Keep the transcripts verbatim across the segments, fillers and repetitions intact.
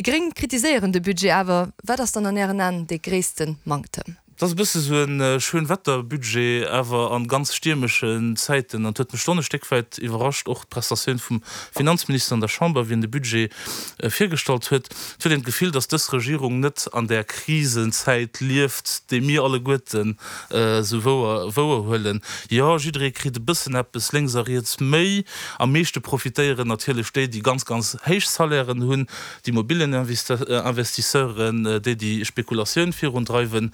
Déi Gréng kritiséieren de Budget awer. Wat ass dann an Ären Aen dee gréisste Manktem? Et ass e bësse sou e Schönwetterbudget, awer a ganz stiermeschen Zäiten. An et huet mech schonn e Stéck wäit iwwerrascht, och d'Prestatioun vum Finanzminister an der Chamber, wéi en de Budget virgestallt huet. Et huet een d'Gefill, datt dës Regierung net an där Krisenzäit lieft, déi mir alleguerten esou wouer wouerhuelen. Jo, jidderee kritt e bëssen eppes lénks a riets méi. Am meeschte profitéieren natierlech déi, déi ganz, ganz héich Salairen hunn, d'Immobilieninvestisseuren, déi déi Spekulatioun virundreiwen.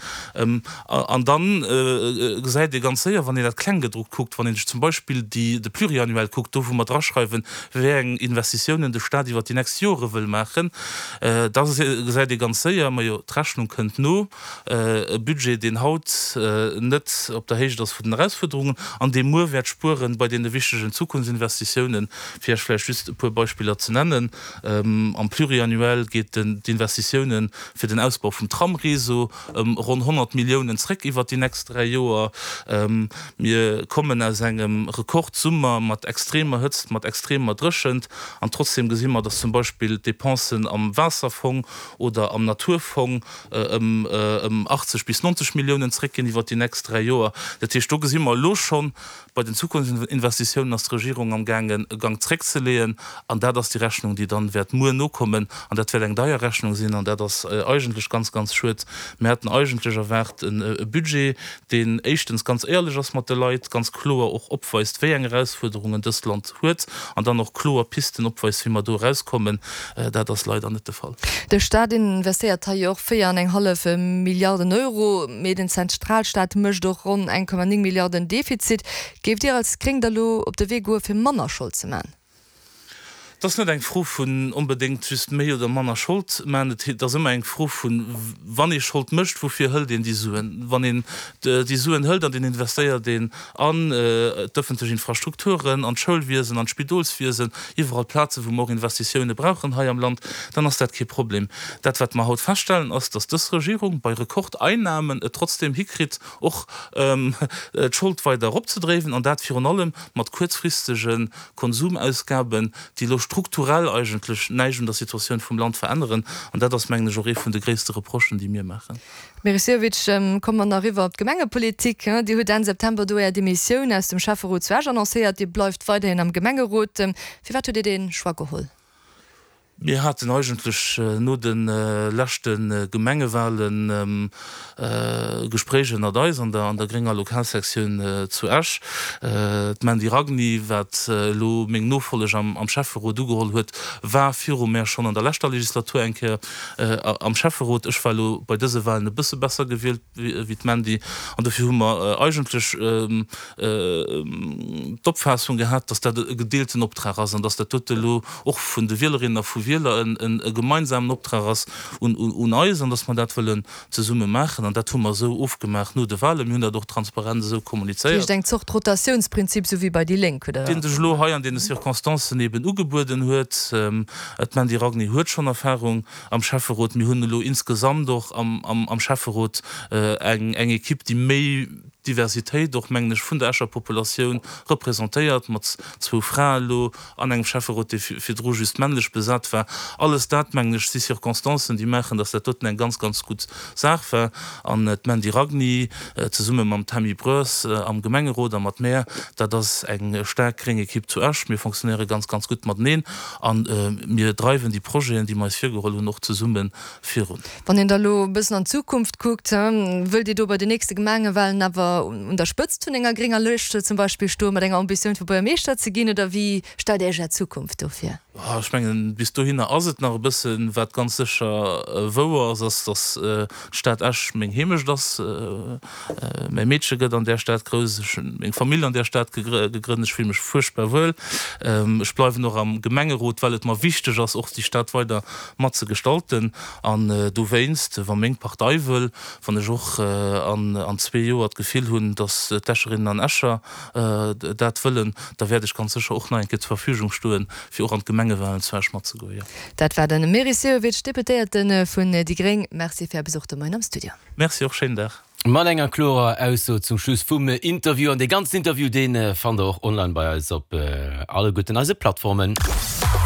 An da gesäit ee ganz séier, wann een dat Klenggedruckt kuckt, wann ee sech zum Beispill déi, de Pluriannuel kuckt, do wou mer draschreiwen, wéi eng Investitiounen de Stat iwwert déi nächst Jore wëll maachen, da gesäit ee ganz séier, majo, d'Rechnung kënnt no, e Budget, deen haut net op der Héicht ass vun den Erausfuerderungen an dee muer wäert spueren bei deene wichtegen Zukunftsinvestitiounen, fir Iech vläicht just e puer Beispiller ze nennen. Am Pluriannuel geet d'Investitiounen fir den Ausbau vum Tramréseau ëm ronn honnert Milliounen zréck iwwert déi nächst dräi Joer. Mir kommen aus engem Rekordsummer mat extremer Hëtzt, mat extremer Dréchent an trotzdeem gesi mer, dass zum Beispill d'Depensen am Waasserfong oder am Naturfong ëm achtzeg bis neunzeg Milliounen zréckginn iwwert déi nächst dräi Joer. Dat heescht, do gesi mer elo schonn, bei den Zukunftsinvestitiounen ass d'Regierung amgaangen, e Gank zréckzeleeën. An dat ass déi Rechnung, déi dann wäert muer nokommen. An dat wäert eng deier Rechnung sinn. An dat ass eigentlech ganz, ganz schued. Mir haten eigentlech erwaart e Budget, deen éischtens ganz éierlech ass mat de Leit, ganz kloer och opweist, wéi eng Erausfuerderungen dëst Land huet, an dann och kloer Pisten opweist, wéi mer do erauskommen. Dat ass leider net de Fall. De Staat investéiert hei jo och véier an eng hallef Milliarden Euro, mee den Zentralstaat mécht och ronn eng Komma néng Milliarden Defizit. Géift Dir als Gréng da lo op de Wee goe fir manner Schold ze man? Et ass net eng Fro vun onbedéngt just méi oder manner Schold man. Et ass ëmmer eng Fro vun, wann ee Schold mécht, woufir hëlt een déi Suen? Wann een déi Suen hëlt an een investéiert een an d'ëffentlech Infrastrukturen, an d'Schoulwiesen, an d'Spidolswiesen, iwwerall Plazen, wou mer och Investitioune brauchen hei am Land, dann ass dat kee Problem. Dat, wat mer haut feststellen, ass, dass dës Regierung bei Rekordeinnahmen et trotzdeem hikritt, och d'Schold weider eropzedréiwen, an dat virun allem mat kuerzfristege Konsumausgaben, déi elo strukturell eigentlech näischt un der Situatioun vum Land veränneren. An dat ass, mengen ech, och ee vun de gréisste Reprochen, déi mir maachen. Meris Sehovic, komme mer nach eriwwer op d'Gemengepolitik. Dir hutt Enn September do Är Demissioun aus dem Schäfferot zu Esch annoncéiert. Dir bleift weiderhin am Gemengerot. Firwat hutt Dir dee Choix geholl? Mir haten eigentlech no de leschte Gemengewahlen Gespréich ënnert eis an der grénger Lokalsektioun zu Esch. D'Mandy Ragni, wat elo meng Nofolleg am Schäfferot ugeholl huet, war viru mär schonn an der leschter Legislatur eng Kéier am Schäfferot. Ech war elo bei dëse Wahlen e bësse besser gewielt wéi d'Mandy an dofir hu mer eigentlech d'Opfaassung gehat, dass dat e gedeelten Optrag ass an dass dat dote elo och vun de Wielerinnen a vu Wieler e gemeinsamen Optrag ass un eis an dass mer dat wëllen zesumme maachen. An dat hu mer esou ofgemaach no de Wahlen. Mir hunn dat och transparent esou kommunizéiert. Dat heescht eng Zort Rotatiounsprinzip, esou wéi bei déi Lénk, oder? Deen sech elo hei an deene Circonstancen eben ugebueden huet. D'Mandy Ragni huet schonn Erfahrung am Schäfferot. Mir hunn elo insgesamt och am Schäfferot eng Equipe, déi méi Diversitéit och, mengen ech, vun der Escher Populatioun representéiert, mat zwou Frae elo an engem Schäfferot, dee virdru just männlech besat war. Alles dat, mengen ech, si Circonstancen, déi maachen, dass dat doten eng ganz, ganz gutt Saach war. An d'Mandy Ragni zesumme mam Tammy Broers am Gemengerot a mat mär, dat ass eng staark gréng Ekipp zu Esch. Mir fonctionnéiere ganz, ganz gutt mateneen a mir dreiwen déi Projeten, déi mer eis virgeholl hunn, och zesumme virun. Wann een da elo e bëssen an d'Zukunft kuckt, wëllt Dir do bei den nächste Gemengewahlen awer un der Spëtzt vun enger grénger Lëscht zum Beispill stoen, mat enger Ambitioun fir Buergermeeschter ze ginn, oder wéi stellt Dir Iech Är Zukunft do vir? Ech mengen, bis dohinner ass et nach e bëssen. Wat ganz sécher wouer ass, ass, datt d'Stad Esch meng Heemecht ass. Mäi Meedche gëtt an där Stad grouss, ech hunn meng Famill an där Stad gegrënnt, ech fille mech fuerchtbar wuel. Ech bleiwen och am Gemengerot, well et mer wichteg ass, och déi Stad weider mat ze gestalten. An dowéinst, wa meng Partei wëll, wann ech och an zwee Joer d'Gefill hunn, datt d'Escherinnen an Escher dat wëllen, da wäert ech ganz sécher och nach eng Kéier zur Verfügung stoen, fir och an d'Gemengewahlen zu Esch matzegoen, jo. Dat war de Meris Sehovic, Deputéierte vun déi gréng. Merci fir Är Besuch de Moien am Studio. Merci och, schéinen Dag. Mat enger klorer Ausso zum Schluss vum Interview. An dee ganzen Interview, dee fannt der och online bei eis op alleguerten eise Plattformen.